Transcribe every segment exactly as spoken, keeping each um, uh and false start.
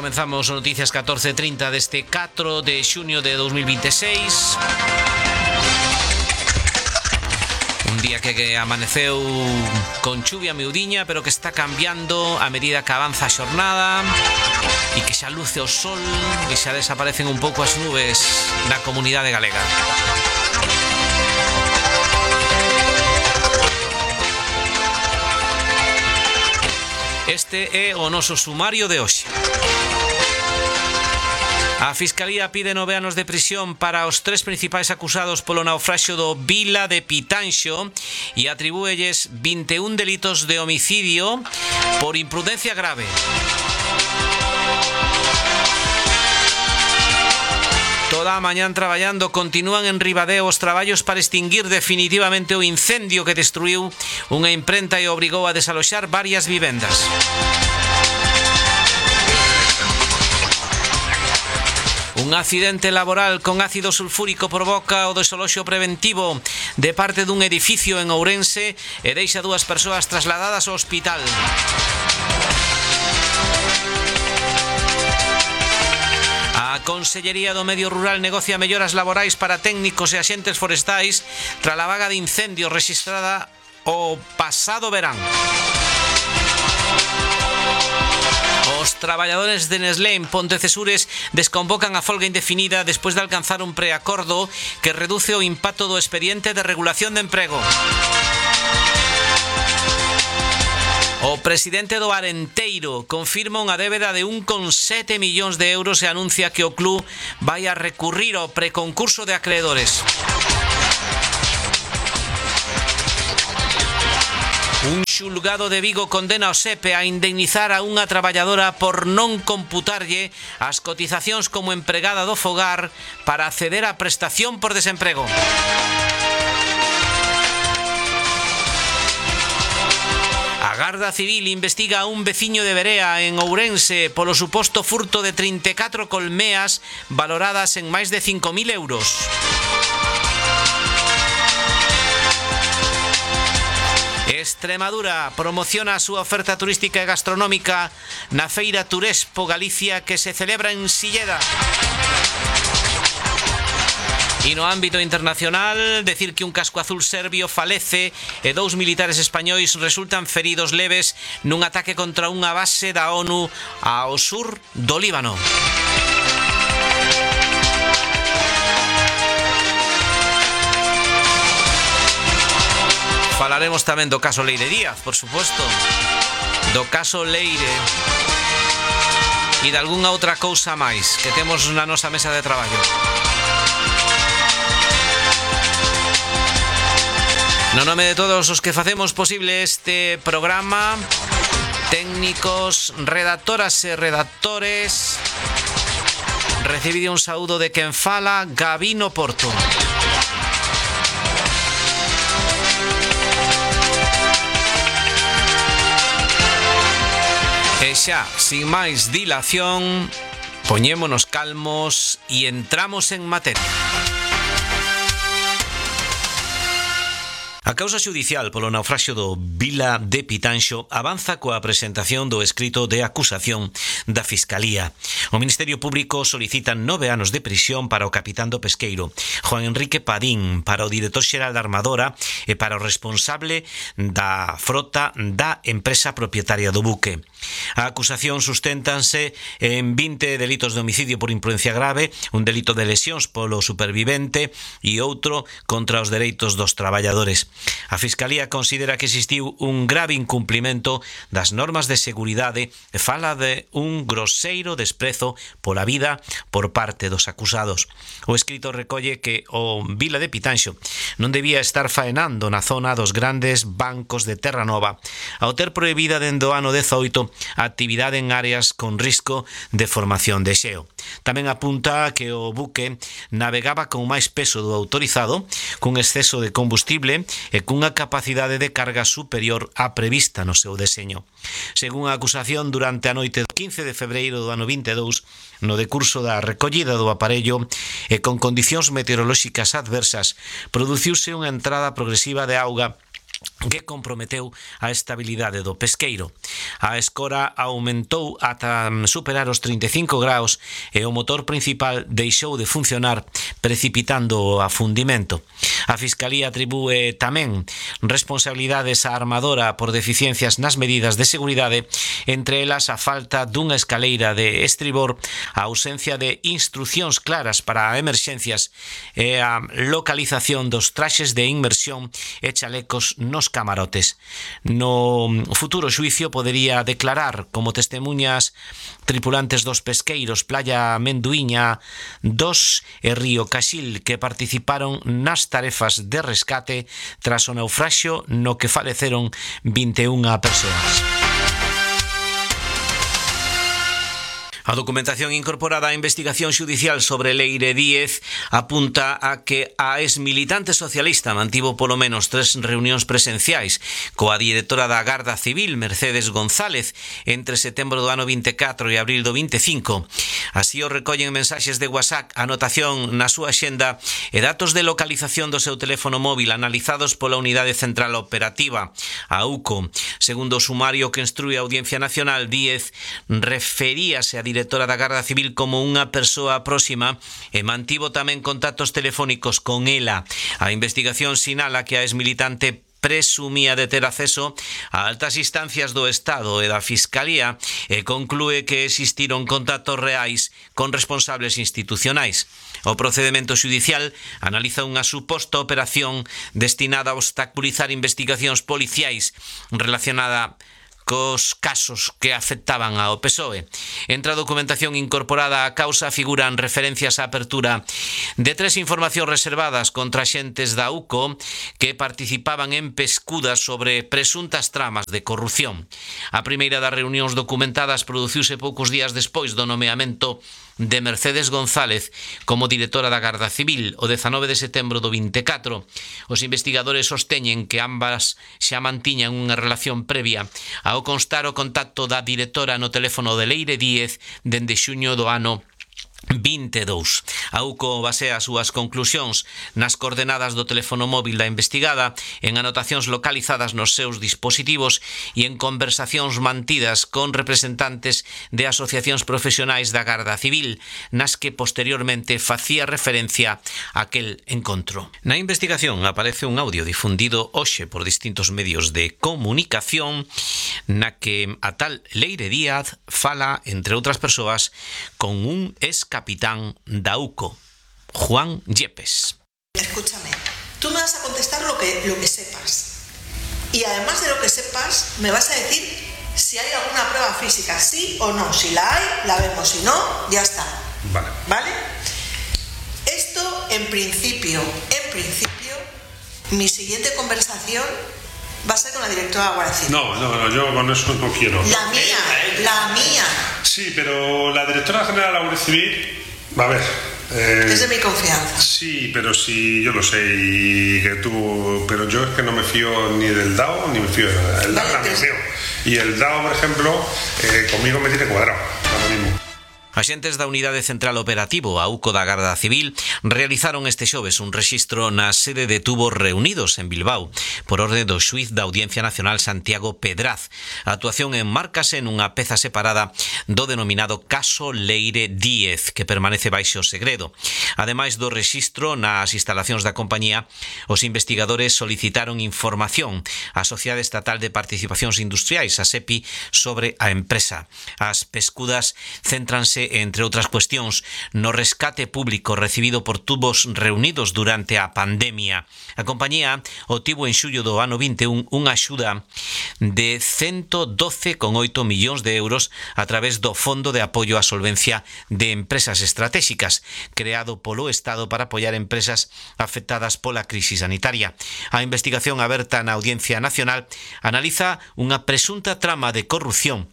comenzamos Noticias catorce treinta deste catro de xuño de dos mil veintiséis. Un día que, que amaneceu con chuvia miudiña, pero que está cambiando a medida que avanza a xornada e que xa luce o sol e xa desaparecen un pouco as nubes na comunidade galega. Este é o noso sumario de hoxe. A Fiscalía pide nove anos de prisión para os tres principais acusados polo naufraxio do Vila de Pitanxo e atribúelles vinte e un delitos de homicidio por imprudencia grave. Toda a mañán traballando continúan en Ribadeo os traballos para extinguir definitivamente o incendio que destruiu unha imprenta e obrigou a desaloxar varias vivendas. Un accidente laboral con ácido sulfúrico provoca o desaloxo preventivo de parte dun edificio en Ourense e deixa dúas persoas trasladadas ao hospital. A Consellería do Medio Rural negocia melloras laborais para técnicos e axentes forestais tras a vaga de incendios rexistrada o pasado verán. Os traballadores de Nestlé en Pontecesures desconvocan a folga indefinida despois de alcanzar un preacordo que reduce o impacto do expediente de regulación de emprego. O presidente do Arenteiro confirma unha débeda de un coma sete millóns de euros e anuncia que o club vai a recurrir ao preconcurso de acreedores. Un xulgado de Vigo condena ao SEPE a indemnizar a unha traballadora por non computarlle as cotizacións como empregada do fogar para acceder á prestación por desemprego. A Garda Civil investiga a un veciño de Berea en Ourense polo suposto furto de trinta e catro colmeas valoradas en máis de cinco mil euros. Extremadura promociona a súa oferta turística e gastronómica na Feira Turespo Galicia que se celebra en Silleda. E no ámbito internacional, decir que un casco azul serbio falece e dous militares españois resultan feridos leves nun ataque contra unha base da ONU ao sur do Líbano. Falaremos tamén do caso Leire Díaz, por suposto, do caso Leire e de algunha outra cousa máis que temos na nosa mesa de traballo. No nome de todos os que facemos posible este programa, técnicos, redactoras e redactores, recibide un saúdo de quen fala, Gabino Porto. E xa, sin máis dilación, poñémonos calmos e entramos en materia. A causa xudicial polo naufraxio do Vila de Pitanxo avanza coa presentación do escrito de acusación da Fiscalía. O Ministerio Público solicita nove anos de prisión para o capitán do pesqueiro, Juan Enrique Padín, para o director xeral da Armadora e para o responsable da frota da empresa propietaria do buque. A acusación susténtanse en vinte delitos de homicidio por imprudencia grave, un delito de lesións polo supervivente e outro contra os dereitos dos traballadores. A Fiscalía considera que existiu un grave incumprimento das normas de seguridade e fala de un groseiro desprezo pola vida por parte dos acusados. O escrito recolle que o Vila de Pitanxo non debía estar faenando na zona dos grandes bancos de Terra Nova ao ter prohibida dende o ano dezoito a actividade en áreas con risco de formación de xeo. Tamén apunta que o buque navegaba con máis peso do autorizado, cun exceso de combustible e cunha capacidade de carga superior á prevista no seu deseño. Según a acusación, durante a noite do quince de febreiro do ano vinte e dous, no decurso da recollida do aparello e con condicións meteorolóxicas adversas, produciuse unha entrada progresiva de auga que comprometeu a estabilidade do pesqueiro. A escora aumentou ata superar os trinta e cinco graus e o motor principal deixou de funcionar, precipitando o afundimento. A Fiscalía atribúe tamén responsabilidades á armadora por deficiencias nas medidas de seguridade, entre elas a falta dunha escaleira de estribor, a ausencia de instruccións claras para emerxencias e a localización dos traxes de inmersión e chalecos nos camarotes. No futuro xuicio podería declarar como testemunhas tripulantes dos pesqueiros Playa Menduíña dos e Río Caxil, que participaron nas tarefas de rescate tras o naufraxio no que faleceron vinte e unha persoas. A documentación incorporada á investigación xudicial sobre Leire Díez apunta a que a exmilitante socialista mantivo polo menos tres reunións presenciais coa directora da Garda Civil, Mercedes González, entre setembro do ano vinte e catro e abril do vinte e cinco. Así o recollen mensaxes de WhatsApp, anotación na súa xenda e datos de localización do seu teléfono móvil analizados pola Unidade Central Operativa, a U C O. Segundo o sumario que instrúe a Audiencia Nacional, Díez referíase a directora da Garda Civil como unha persoa próxima e mantivo tamén contactos telefónicos con ela. A investigación sinala que a exmilitante presumía de ter acceso a altas instancias do Estado e da Fiscalía e conclúe que existiron contactos reais con responsables institucionais. O procedemento xudicial analiza unha suposta operación destinada a obstaculizar investigacións policiais relacionada cos casos que afectaban ao P S O E. Entre a documentación incorporada á causa figuran referencias á apertura de tres informacións reservadas contra xentes da U C O que participaban en pescudas sobre presuntas tramas de corrupción. A primeira das reunións documentadas produciuse poucos días despois do nomeamento de Mercedes González como directora da Garda Civil o dezanove de setembro do vinte e catro. Os investigadores sosteñen que ambas xa mantiñan unha relación previa ao constar o contacto da directora no teléfono de Leire Díez dende xuño do ano vinte e dous. A U C O basea as súas conclusións nas coordenadas do teléfono móvil da investigada, en anotacións localizadas nos seus dispositivos e en conversacións mantidas con representantes de asociacións profesionais da Garda Civil, nas que posteriormente facía referencia a aquel encontro. Na investigación aparece un audio difundido hoxe por distintos medios de comunicación na que a tal Leire Díaz fala, entre outras persoas, con un ex capitán da U C O, Juan Yepes. Escúchame, tú me vas a contestar lo que, lo que sepas. Y además de lo que sepas, me vas a decir si hay alguna prueba física, sí o no. Si la hay, la vemos. Si no, ya está. Vale. ¿Vale? Esto, en principio, en principio, mi siguiente conversación va a ser con la directora de la Guardia Civil. No, no, no, yo con eso no quiero. La mía, la mía. Sí, pero la directora general de la Guardia Civil, a ver... Eh, es de mi confianza. Sí, pero sí, yo lo sé, y que tú... Pero yo es que no me fío ni del D A O, ni me fío de nada. El vale, D A O te... me fío. Y el D A O, por ejemplo, eh, conmigo me tiene cuadrado, ahora mismo. Axentes da Unidade Central Operativo, a U C O da Garda Civil, realizaron este xoves un rexistro na sede de Tubos Reunidos en Bilbao, por orde do xuíz da Audiencia Nacional Santiago Pedraz. A actuación enmárcase nunha peza separada do denominado caso Leire Díez, que permanece baixo segredo. Ademais do rexistro nas instalacións da compañía, os investigadores solicitaron información á Sociedade Estatal de Participacións Industriais, a SEPI, sobre a empresa. As pescudas céntranse, entre outras cuestións, no rescate público recibido por Tubos Reunidos durante a pandemia. A compañía obtivo en xullo do ano vinte e un unha axuda de ciento doce coma oito millóns de euros a través do Fondo de Apoio á Solvencia de Empresas Estratégicas, creado polo Estado para apoiar empresas afectadas pola crise sanitaria. A investigación aberta na Audiencia Nacional analiza unha presunta trama de corrupción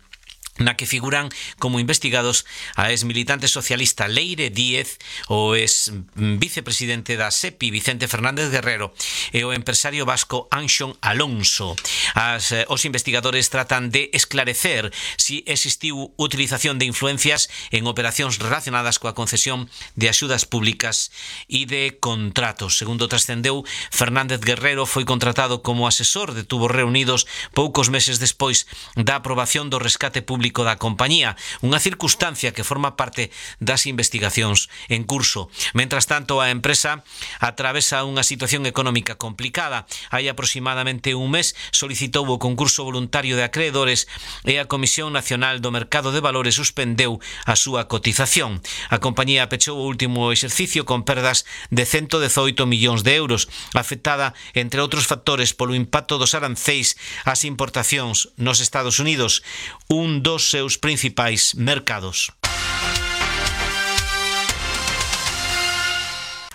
na que figuran como investigados a ex-militante socialista Leire Díez, o ex-vicepresidente da S E P I Vicente Fernández Guerrero e o empresario vasco Anxón Alonso. As, eh, os investigadores tratan de esclarecer si existiu utilización de influencias en operacións relacionadas coa concesión de axudas públicas e de contratos. Segundo trascendeu, Fernández Guerrero foi contratado como asesor de Tubos Reunidos poucos meses despois da aprobación do rescate público da compañía, unha circunstancia que forma parte das investigacións en curso. Mentras tanto, a empresa atravesa unha situación económica complicada. Hai aproximadamente un mes solicitou o concurso voluntario de acreedores e a Comisión Nacional do Mercado de Valores suspendeu a súa cotización. A compañía pechou o último exercicio con perdas de ciento dezoito millóns de euros, afectada, entre outros factores, polo impacto dos aranceis ás importacións nos Estados Unidos, un dos seus principais mercados.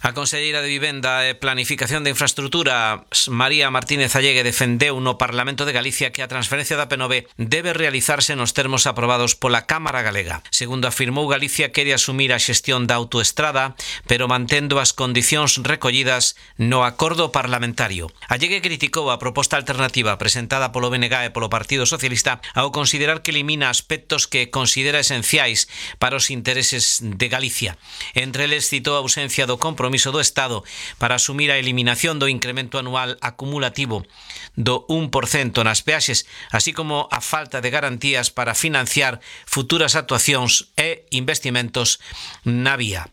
A conselleira de Vivenda e Planificación de Infraestrutura, María Martínez Allegue, defendeu no Parlamento de Galicia que a transferencia da P nove debe realizarse nos termos aprobados pola Cámara Galega. Segundo afirmou, Galicia quere asumir a xestión da autoestrada, pero mantendo as condicións recollidas no acordo parlamentario. Allegue criticou a proposta alternativa presentada polo B N G e polo Partido Socialista ao considerar que elimina aspectos que considera esenciais para os intereses de Galicia. Entre eles citou a ausencia do compromiso do Estado para asumir a eliminación do incremento anual acumulativo do un por cento nas peaxes, así como a falta de garantías para financiar futuras actuacións e investimentos na vía.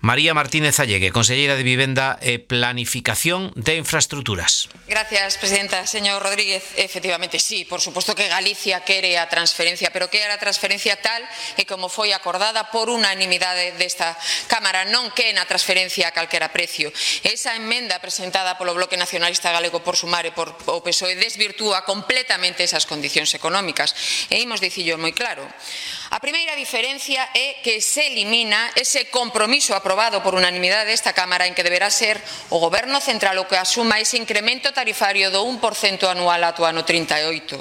María Martínez Allegue, conselleira de Vivenda e Planificación de Infraestructuras. Gracias, presidenta. Señor Rodríguez, efectivamente, sí, por suposto que Galicia quere a transferencia, pero quere a transferencia tal e como foi acordada por unanimidade desta Cámara, non que na transferencia a calquera precio. Esa emenda presentada polo Bloque Nacionalista Galego por Sumar e por o P S O E desvirtúa completamente esas condicións económicas. E imos dicillo moi claro. A primeira diferencia é que se elimina ese compromiso aprobado por unanimidade desta Cámara en que deberá ser o Goberno Central o que asuma ese incremento tarifario do un por cento anual ata o ano trinta e oito.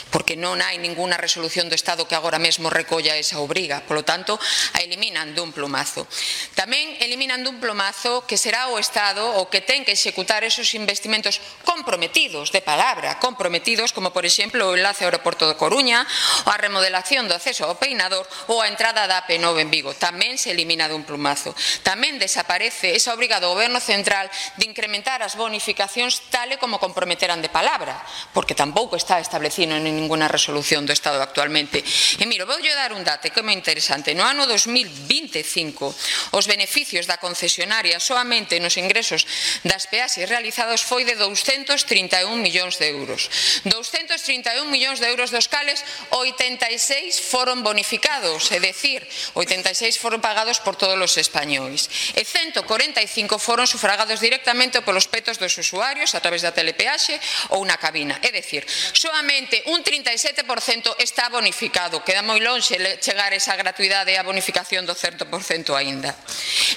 Porque non hai ninguna resolución do Estado que agora mesmo recolla esa obriga. Polo tanto, a eliminan dun plumazo. Tamén eliminan dun plumazo que será o Estado o que ten que executar esos investimentos comprometidos, de palabra, comprometidos, como por exemplo o enlace ao aeroporto de Coruña, ou a remodelación do acceso ao Peinador ou a entrada da A P nove en Vigo. Tamén se elimina dun plumazo. Tamén desaparece esa obriga do Goberno Central de incrementar as bonificacións tal e como comprometeran de palabra, porque tampouco está establecido en ninguna resolución do Estado actualmente. E miro, vou dar un dato que é moi interesante. No ano dos mil vinte e cinco, os beneficios da concesionaria soamente nos ingresos das peaxes realizados foi de douscentos trinta e un millóns de euros. douscentos trinta e un millóns de euros dos cales oitenta e seis foron bonificados, é dicir, oitenta e seis foron pagados por todos os españois. E ciento corenta e cinco foron sufragados directamente polos petos dos usuarios a través da telepeaxe ou na cabina. É dicir, soamente un trinta e sete por cento está bonificado. Queda moi lonxe chegar esa gratuidade e a bonificación do certo por cento aínda.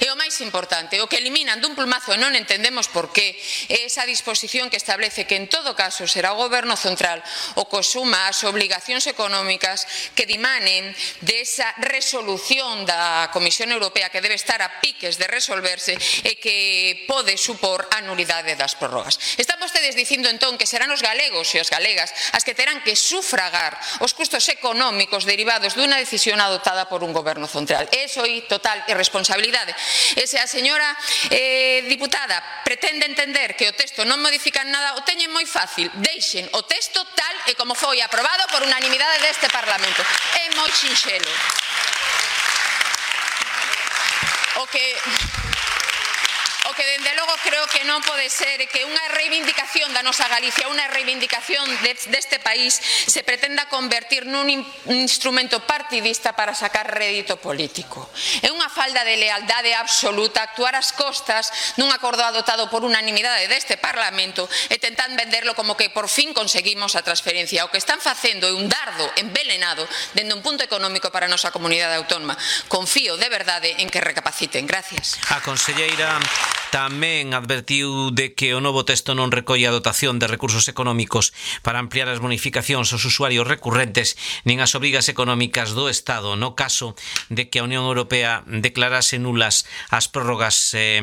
E o máis importante, o que eliminan dun plumazo e non entendemos por qué, é esa disposición que establece que en todo caso será o Goberno Central o que asuma as obligacións económicas que dimanen desa resolución da Comisión Europea que debe estar a piques de resolverse e que pode supor a nulidade das prórrogas. Están vostedes dicindo entón que serán os galegos e as galegas as que terán que sufragar os custos económicos derivados dunha decisión adoptada por un Goberno Central. Eso é total irresponsabilidade. E se a señora eh, diputada pretende entender que o texto non modifica nada, o teñen moi fácil. Deixen o texto tal e como foi aprobado por unanimidade deste Parlamento. É moi sinxelo. O que... O que, dende logo, creo que non pode ser que unha reivindicación da nosa Galicia, unha reivindicación deste país se pretenda convertir nun instrumento partidista para sacar rédito político. É unha falda de lealdade absoluta actuar ás costas dun acordo adoptado por unanimidade deste Parlamento e tentar venderlo como que por fin conseguimos a transferencia. O que están facendo é un dardo envelenado dende un punto económico para a nosa comunidade autónoma. Confío de verdade en que recapaciten. Gracias. A conselleira Tamén advertiu de que o novo texto non recolle a dotación de recursos económicos para ampliar as bonificacións aos usuarios recurrentes nin as obrigas económicas do Estado no caso de que a Unión Europea declarase nulas as prórrogas eh,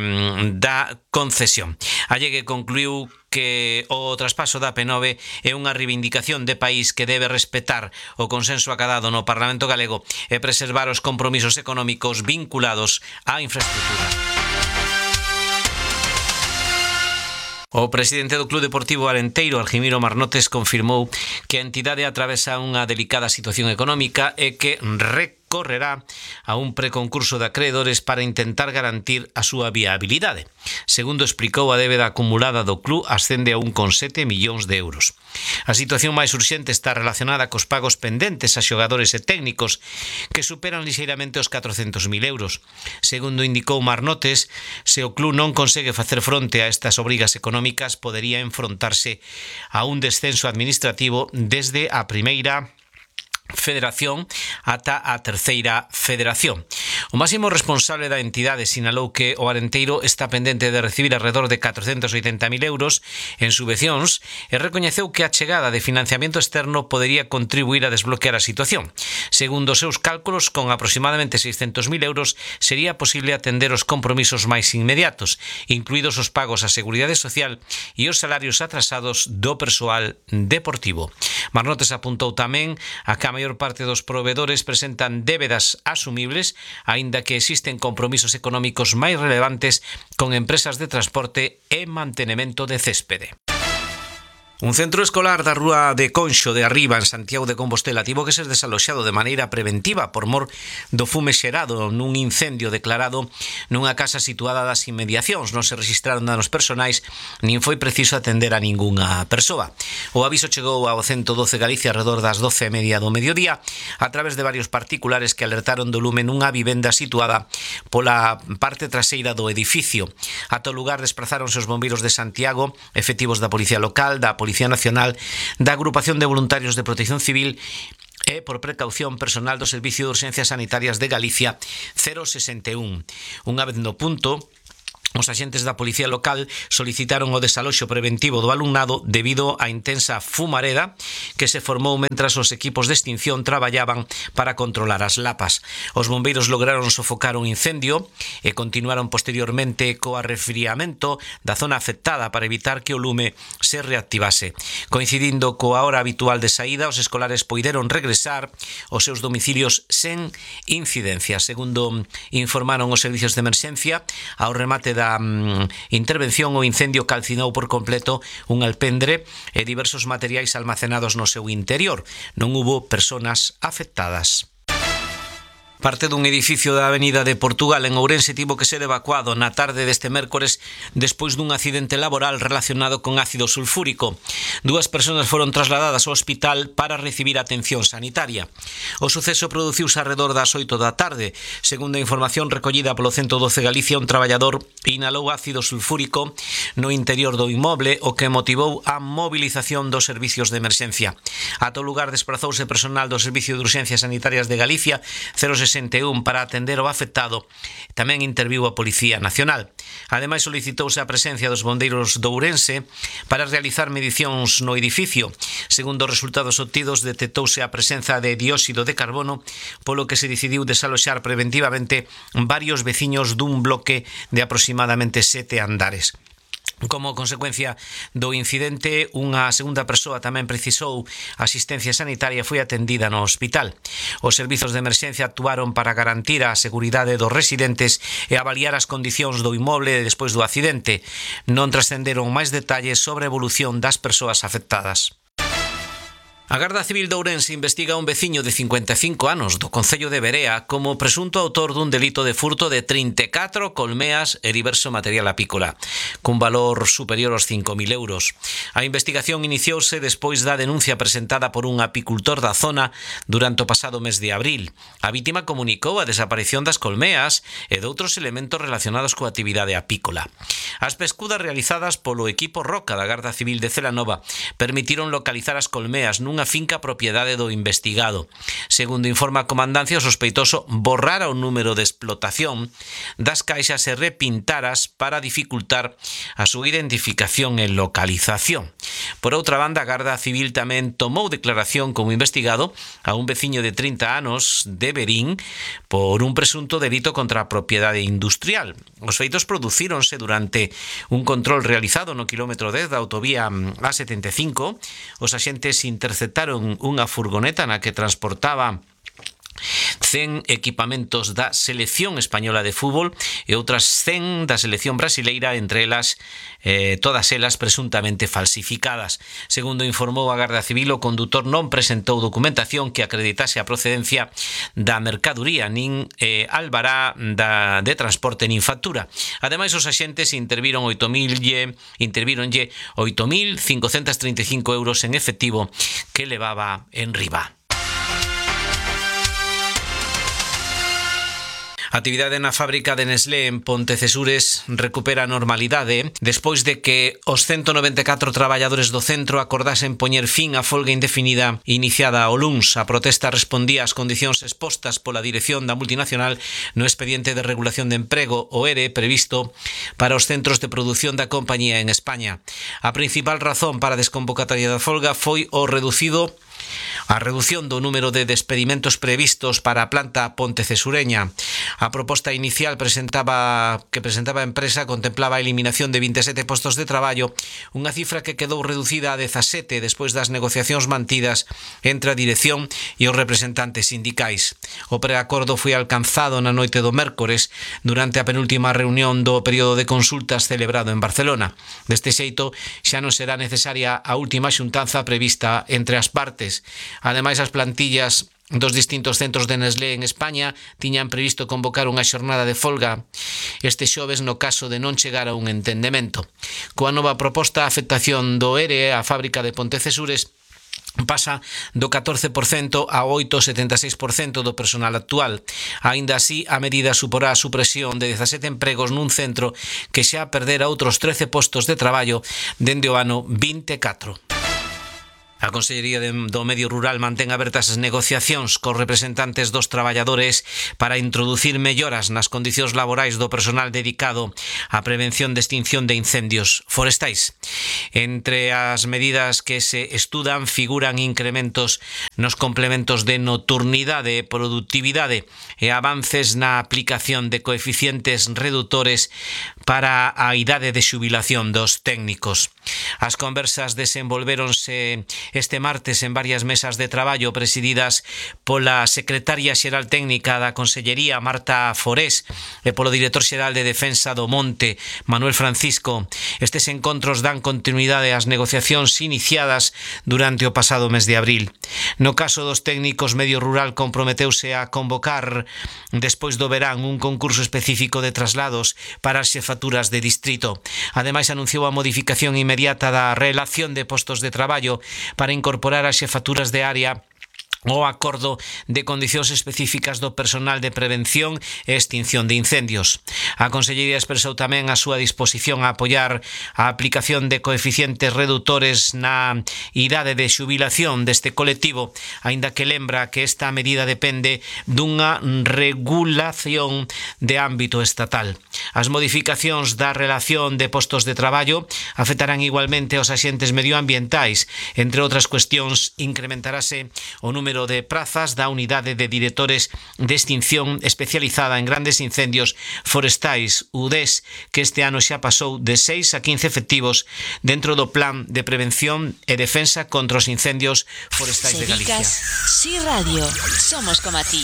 da concesión. Allegue concluiu que o traspaso da P nove é unha reivindicación de país que debe respetar o consenso acadado no Parlamento galego e preservar os compromisos económicos vinculados á infraestructura. O presidente do Club Deportivo Arenteiro, Argimiro Marnotes, confirmou que a entidade atravesa unha delicada situación económica e que recorrerá a un preconcurso de acreedores para intentar garantir a súa viabilidade. Segundo explicou, a débeda acumulada do club ascende a un coma sete millóns de euros. A situación máis urxente está relacionada cos pagos pendentes a xogadores e técnicos que superan lixeiramente os catrocentos mil euros. Segundo indicou Marnotes, se o club non consegue facer fronte a estas obrigas económicas, podería enfrontarse a un descenso administrativo desde a primeira Federación ata a terceira Federación. O máximo responsable da entidade sinalou que o Arenteiro está pendente de recibir alrededor de catrocentos oitenta mil euros en subvencións e recoñeceu que a chegada de financiamento externo podería contribuir a desbloquear a situación. Segundo os seus cálculos, con aproximadamente seiscentos mil euros sería posible atender os compromisos máis inmediatos, incluídos os pagos á Seguridade Social e os salarios atrasados do persoal deportivo. Marnotes apuntou tamén a que a maior parte dos provedores presentan débedas asumibles, aínda que existen compromisos económicos máis relevantes con empresas de transporte e mantenemento de céspede. Un centro escolar da rúa de Conxo de Arriba, en Santiago de Compostela, tivo que ser desaloxado de maneira preventiva por mor do fume xerado nun incendio declarado nunha casa situada das inmediacións. Non se registraron danos personais, nin foi preciso atender a ningunha persoa. O aviso chegou ao ciento doce Galicia alrededor das doce e media do mediodía a través de varios particulares que alertaron do lume nunha vivenda situada pola parte traseira do edificio. Ata o lugar desprazáronse os bombeiros de Santiago, efectivos da Policía Local, da Policía Nacional, da Agrupación de Voluntarios de Protección Civil e, por precaución, personal do Servicio de Urxencias Sanitarias de Galicia cero sesenta e un. Unha vez no punto, os axentes da Policía Local solicitaron o desaloxo preventivo do alumnado debido á intensa fumareda que se formou mentras os equipos de extinción traballaban para controlar as lapas. Os bombeiros lograron sofocar un incendio e continuaron posteriormente co arrefriamento da zona afectada para evitar que o lume se reactivase. Coincidindo coa hora habitual de saída, os escolares poideron regresar aos seus domicilios sen incidencia. Segundo informaron os servicios de emerxencia, ao remate da da intervención o incendio calcinou por completo un alpendre e diversos materiais almacenados no seu interior. Non hubo persoas afectadas. Parte dun edificio da Avenida de Portugal en Ourense tivo que ser evacuado na tarde deste mércores despois dun accidente laboral relacionado con ácido sulfúrico. Dúas persoas foron trasladadas ao hospital para recibir atención sanitaria. O suceso produciuse arredor das oito da tarde. Segundo a información recollida polo ciento doce Galicia, un traballador inhalou ácido sulfúrico no interior do inmoble, o que motivou a movilización dos servicios de emerxencia. Ata o lugar desprazouse personal do Servicio de Urxencias Sanitarias de Galicia cero sesenta e un para atender o afectado. Tamén interviu a Policía Nacional. Ademais, solicitouse a presencia dos bombeiros de Ourense para realizar medicións no edificio. Segundo os resultados obtidos, detectouse a presenza de dióxido de carbono, polo que se decidiu desaloxar preventivamente varios veciños dun bloque de aproximadamente sete andares. Como consecuencia do incidente, unha segunda persoa tamén precisou asistencia sanitaria e foi atendida no hospital. Os servizos de emerxencia actuaron para garantir a seguridade dos residentes e avaliar as condicións do inmoble despois do accidente. Non trascenderon máis detalles sobre a evolución das persoas afectadas. A Garda Civil de Ourense investiga a un veciño de cincuenta e cinco anos do concello de Verea como presunto autor dun delito de furto de trinta e catro colmeas e diverso material apícola, cun valor superior aos cinco mil euros. A investigación iniciouse despois da denuncia presentada por un apicultor da zona durante o pasado mes de abril. A vítima comunicou a desaparición das colmeas e de outros elementos relacionados coa actividade apícola. As pescudas realizadas polo equipo Roca da Garda Civil de Celanova permitiron localizar as colmeas nun nunha finca propiedade do investigado. Segundo informa a comandancia, o sospeitoso borrara o número de explotación das caixas e repintaras para dificultar a súa identificación e localización. Por outra banda, a Garda Civil tamén tomou declaración como investigado a un veciño de trinta anos de Verín por un presunto delito contra a propiedade industrial. Os feitos producíronse durante un control realizado no quilómetro dez da autovía A setenta e cinco. Os axentes interceptaron unha furgoneta na que transportaba cen equipamentos da selección española de fútbol e outras cen da selección brasileira, entre elas eh, todas elas presuntamente falsificadas. Segundo informou a Garda Civil, o condutor non presentou documentación que acreditase a procedencia da mercaduría, nin eh, albará da, de transporte nin factura. Ademais, os axentes interviron oito mil intervíronlle oito mil cincocentos trinta e cinco euros en efectivo que levaba en riba. A actividade na fábrica de Nestlé en Pontecesures recupera a normalidade despois de que os ciento noventa e catro traballadores do centro acordasen poñer fin á folga indefinida iniciada o luns. A protesta respondía ás condicións expostas pola dirección da multinacional no expediente de regulación de emprego, o E R E, previsto para os centros de produción da compañía en España. A principal razón para a desconvocatoria da folga foi o reducido a redución do número de despedimentos previstos para a planta pontecesureña. A proposta inicial presentaba que presentaba a empresa contemplaba a eliminación de vinte e sete postos de traballo, unha cifra que quedou reducida a dezasete despois das negociacións mantidas entre a dirección e os representantes sindicais. O preacordo foi alcanzado na noite do mércores durante a penúltima reunión do período de consultas celebrado en Barcelona. Deste xeito, xa non será necesaria a última xuntanza prevista entre as partes. Ademais, as plantillas dos distintos centros de Nestlé en España tiñan previsto convocar unha xornada de folga este xoves no caso de non chegar a un entendemento. Coa nova proposta, a afectación do E R E á fábrica de Pontecesures pasa do catorce por cento a oito vírgula setenta e seis por cento do personal actual. Aínda así, a medida suporá a supresión de dezasete empregos nun centro que xa perdera outros trece postos de traballo dende o ano vinte e catro. A Consellería do Medio Rural mantén abertas as negociacións cos representantes dos traballadores para introducir melloras nas condicións laborais do personal dedicado á prevención de extinción de incendios forestais. Entre as medidas que se estudan figuran incrementos nos complementos de nocturnidade e productividade e avances na aplicación de coeficientes redutores para a idade de xubilación dos técnicos. As conversas desenvolvéronse este martes en varias mesas de traballo presididas pola secretaria xeral técnica da Consellería, Marta Forés, e polo director xeral de Defensa do Monte, Manuel Francisco. Estes encontros dan continuidade ás negociacións iniciadas durante o pasado mes de abril. No caso dos técnicos, Medio Rural comprometeuse a convocar despois do verán un concurso específico de traslados para as xefaturas de distrito. Ademais, anunciou a modificación inmediata da relación de postos de traballo para incorporar as xefaturas de área o acordo de condicións específicas do personal de prevención e extinción de incendios. A Consellería expresou tamén a súa disposición a apoiar a aplicación de coeficientes redutores na idade de xubilación deste colectivo, aínda que lembra que esta medida depende dunha regulación de ámbito estatal. As modificacións da relación de postos de traballo afectarán igualmente aos axentes medioambientais. Entre outras cuestións, incrementarase o número de prazas da unidade de directores de extinción especializada en grandes incendios forestais, U D E S, que este ano xa pasou de seis a quince efectivos dentro do Plan de Prevención e Defensa contra os Incendios Forestais de Galicia. Si Radio, somos como a ti.